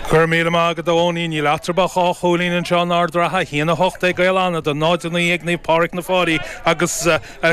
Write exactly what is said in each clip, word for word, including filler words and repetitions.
Go raibh míle maith agat a Eoinín níl eatarthu ach dhá chúilín anseo in Ard an Rátha a haon a hocht ag Gaeil Fhánada náid a naoi ag Naomh Pádraig na Fáilí agus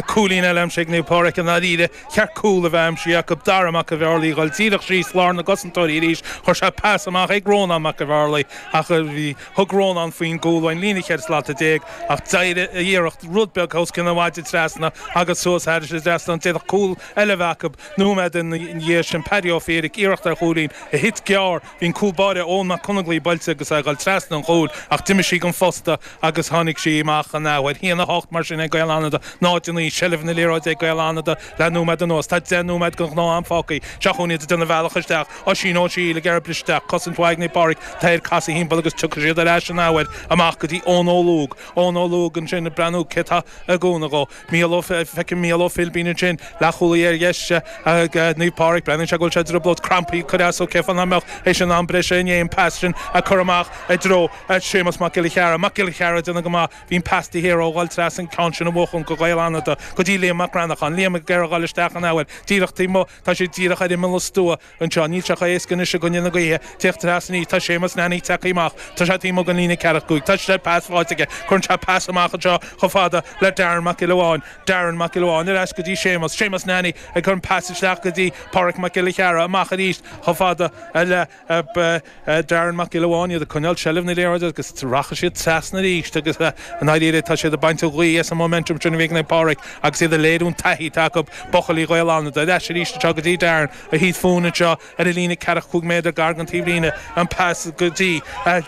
cúilín eile aimsithe ag Naomh Pádraig i ndáiríre cheart cúl a bheith aimsithe acu Dara Mac an Bhearlaí ag dul díreach síos lár na gcosantóirí arís chuir sé pas amach ag Rónán Mac an Bhearlaí ach bhí thug Rónán faoin gcúl ón líne cheithre slata déag ach d'éirigh a iarracht rud beag os cionn an mhaide trasna agus suas thairis an trasnán d'fhéadfadh cúl eile a bheith acu nóiméad ina dhiaidh sin Paddy Ó Fiaich iarracht ar chúilín a thit gearr bhí an cúl báire Eoin Mac Conaglaí buailte agus é ag dul trasna an chúil ach d'imigh sí den phosta agus tháinig sí amach an athuair haon a hocht mar sin ag Gaeil Fhánada náid a naoi seilbh na liathróide ag Gaeil Fhánada le nóiméad anuas tá deich nóiméad den ghnáth-am fágtha seo chugainn iad ag déanamh a mbealach isteach Oisín Ó Siail ag iarraidh briseadh isteach cosaint mhaith ag Naomh Pádraig tá air casadh thimpeall agus tiocfaidh siad ar ais an athuair amach go dtí Eoin Ó Lúg Eoin Ó Lúg ansin ag breathnú cé tá i gcúnamh dhó Mícheál Ó feicim Mícheál Ó Philbín ansin leathchúlaí ar dheis ag Naomh Pádraig breathnaíonn sé go bhfuil sé i dtrioblóid crampaí ag cur as dó cé fáth nach mbeadh théis an am breise inné an pas sin a chur amach i dtreo Séamus Mac Giolla Cheara Mac Giolla Cheara déanamh go maith bhí an pas de hé ó dul trasna an ceann sin a bhuachan go Gaeil Fhánada go dtí Liam Mac Ranachan Liam ag iarraidh dul isteach an athuair díreach taobh amuigh tá sé díreach ar imeall an stua anseo níl sé chomh héasca anois i gcoinne na gaoithe teacht trasna tá Séamus Nanny tagtha amach tá sé taobh amuigh den líne ceathracha cúig tá sé pas faighte aige cuireann sé pas amach anseo chomh fada le Darren Mac Giolla Bháin Darren Mac Giolla Bháin ar ais go dtí Séamus Séamus Nanny ag cur an pas isteach go dtí Pádraig Mac Giolla Cheara amach arís chomh fada le Darren Mac Giolla Bháin iad ag coinneáil seilbh na liathróide agus rachaidh siad trasna arís agus an éire tá siad ag baint an ghaoth as an momentum sin a bhí ag Pádraig agus iad ag léiriú an taithí atá acu buachaillí Ghaeil Fhánada ar ais arís anseo go dtí Darren a thit fúinn anseo ar an líne ceathracha cúig méadar gar don taobhlíne an pas go dtí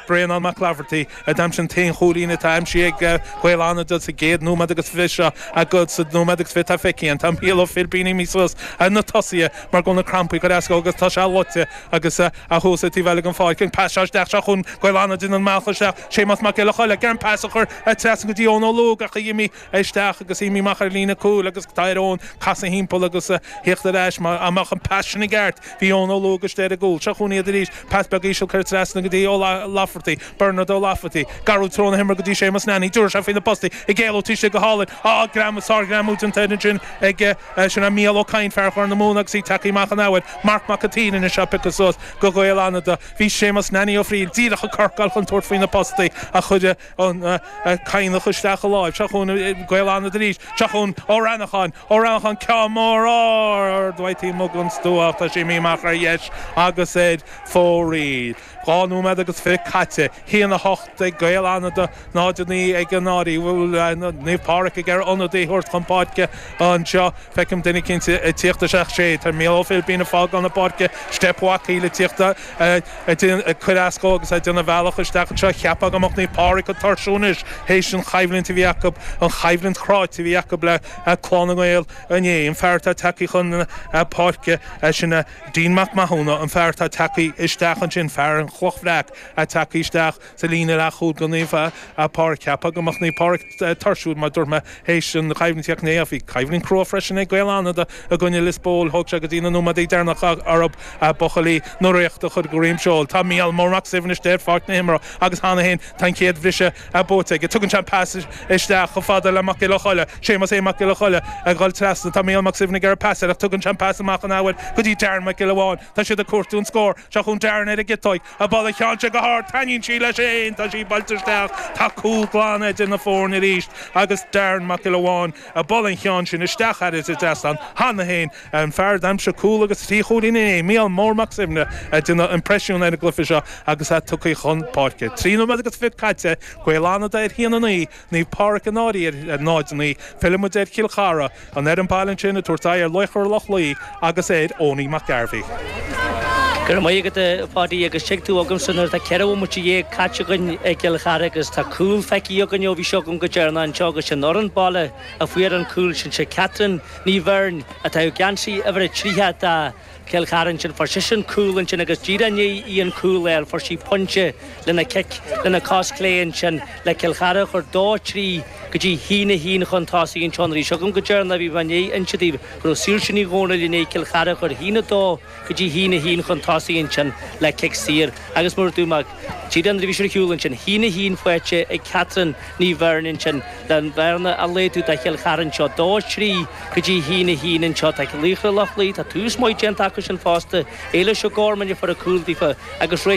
Bréanán Mac Laverty a d'aimsigh an t-aon chúilín atá aimsithe ag Gaeil Fhánada sa gcéad nóiméad agus fiche seo agus sa nóiméad agus fiche tá feicthe tá Mícheál Ó Philbín imithe suas na tosaithe mar go na crampaí go deas agus tá sé loite agus a thuas taobh eile den pháirc an pas isteach seo chun Gaeil Fhánada an mbealach isteach Séamus Mac Giolla Choille gan pas a chur trasna go dtí Eoin Ó Lúg ach imigh isteach agus imigh amach ar líne cúil agus tá ar Eoin casadh thimpeall agus theacht ar ais amach an pas sin i gceart bhí Eoin Ó Lúg istigh ar an gcúl seo chun iad arís pas beag íseal cur trasna go dtí Ó Lafferty Bernard Ó Lafferty garú trón himmer go dtí Séamus Nanny dúir sé faoi na postaí ag éaló tí go hálainn á greim sárghreamú den ansin ag sin an Mícheál Ó Cadhain fear Chor na Móna agus í tagtha amach an athuair Marc Mac an tSaoir ina seo pioctha suas go Gaeil Fhánada bhí Séamus Nanny Ó Fríl díreach a corcáil chun tabhairt faoi na postaí a chuir an Cadhnach isteach a láimh seo chun Gaeil Fhánada arís seo chun Ó Rannacháin Ó Rannacháin ceann mór ard taobh amuigh den stua tá sé imithe amach ar dheis agus ar fóraoil. Dhá nóiméad agus fiche caite haon a hocht ag Gaeil Fhánada náid a naoi ag an Áirí bhfuil Naomh Pádraig ag iarraidh ionadaí a thabhairt chun páirce anseo feicim duine cinnte ag tíocht isteach sé Tá Mícheál Ó Philbín ag fágáil na páirce Steip Mhacaí le tíocht ag cur as dó agus ag déanamh bealach isteach anseo cheapfá go mbeadh Naomh Pádraig ag tuirsiú anois théis an choimhlint a bhí acu an choimhlint chráite a bhí acu le Clann na nGael inné an fear atá tagtha chun páirce sin Dean Mac Mathúna an fear atá tagtha isteach ansin fear an Chloch Bhreac a tagtha isteach sa líne leathchúil go Naomh Pádraig cheapfá go mbeadh Naomh Pádraig tuirsiúil mar dúirt mé théis an choimhlint inné bhí coimhlint chrua freisin ag Gaeil Fhánada i gcoinne Lios Póil thóg sé go dtí na nóiméadaí deireanacha orthu buachaillí na Ríochta a chur go droim seoil. Tá Mícheál Mór Mac Suibhne istigh ar pháirc na himeartha agus cheana féin tá an chéad bhriseadh buaite aige. Tugann sé an pas isteach chomh fada le Mac Giolla Choille, Séamus A Mac Giolla Choille ag dul trasna tá Mícheál Mac Suibhne ag iarraidh pas air ach tugann sé an pas amach an athuair go dtí Darren Mac Giolla Bháin. Tá siad ag cuartú an scór seo chun Darren ar an gciotóig a ball a cheann sé go hard taitníonn sí leis féin tá sí buailte isteach tá cúl glan idir na foirne arís agus Darren Mac Giolla Bháin a ball an cheann sin isteach thar an trasnán cheana féin an fear d'aimsigh cúl agus trí chúilín inné Mícheál Mór Mac Suibhne ag déanamh impressiún ar an gcluiche seo agus é tugtha chun páirce. Trí nóiméad agus fiche caite Gaeil Fhánada ar haon a naoi Naomh Pádraig an Áirí ar náid a naoi Fillfimid ar Chill Chartha an fhoireann baile ansin ag tabhairt aghaidh ar Laochra Loch Lao agus ar Owenie McGarvey. Go raibh maith agat a Pháidí agus tuig tú agamsa nuair atá ceithre bhomaite dhéag caite againn i gCill Chartha agus tá cúl feicthe againn ó bhí seo agam go deireanach anseo agus sin fhoireann baile a fuair an cúl sin sé Catherine Ní Bheirn atá i geansaí uimhir a tríocha do Chill Chartha ansin fuair sise an cúl ansin agus díreach i ndiaidh í an cúl a fháil fuair sí pointe lena cic lena cos clé ansin le Cill Chartha a chur dó trí go dtí haon a haon chun tosaigh anseo nuair a bhí seo agam go deireanach bhí mé i ndiaidh inse daoibh go raibh Saoirse Ní Dhomhnaill i ndiaidh Cill Chartha a chur haon a dó go dtí haon a haon chun tosaigh ansin le cic saor agus mar dúirt mé díreach nuair a bhí sé ar shiúl ansin haon a haon faighte ag Catherine Ní Bheirn ansin le an bhearna a laghdú do Chill Chartha anseo dó trí go dtí haon a haon anseo tá Laochra Loch Lao tá tús maith déanta acu sin fosta Éilish O'Gorman a fuair a cúl daofa agus réiteach